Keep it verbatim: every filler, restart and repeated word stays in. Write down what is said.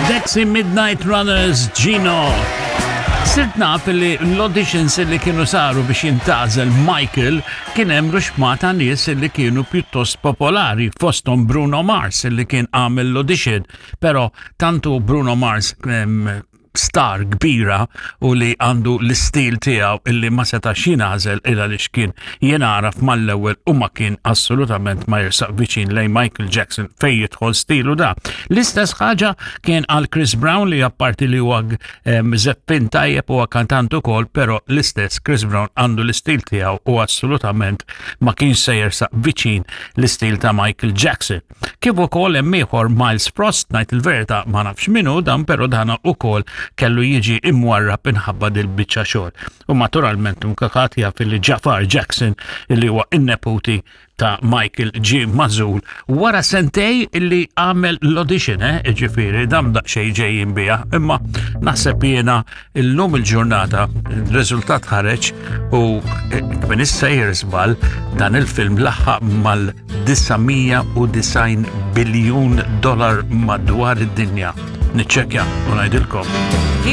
Dexy Midnight Runners, Gino. Sirt naf li l-auditions li kienu saru biex jintgħażel Michael, kien hemm ruxmata nies li kienu pjuttost popolari, fosthom Bruno Mars li kien għamel l-audition, pero tantu Bruno Mars em, star kbira u li għandu l-istil tiegħu illi ma setax jingħażel illa li xkien jingħaraf mal-ewwel u ma kien assolutament ma jersaq viċin lejn Michael Jackson fej jidħol stilu da. L-istess ħaġa kien għal Chris Brown li apparti li huwa em, żeffien tajjeb, huwa kantant ukoll, però l-istess Chris Brown għandu l-istil tiegħu u assolutament ma kienx se jersaq viċin l-istil ta' Michael Jackson. Kif ukoll hemm ieħor Myles Frost, ngħid il-verità ma nafx minnu dan, però dana ukoll kellu jiġi imwarrab inħabba dil-biċċa xogħol. U naturalment mkakat jaf li Jafar Jackson, illi huwa in-neputi ta' Michael, ġie magħżul wara sentejn illi għamel l-audition, eh, ġifieri, dam daqsxejn ġejjin bija, imma naħseb jiena illum il-ġurnata il-riżultat ħareġ u eh, minn issejjer żball, dan il-film laħaq mal-disa' mija u disgħin biljun dollar madwar id-dinja. Niċċekkja u ngħidilkom.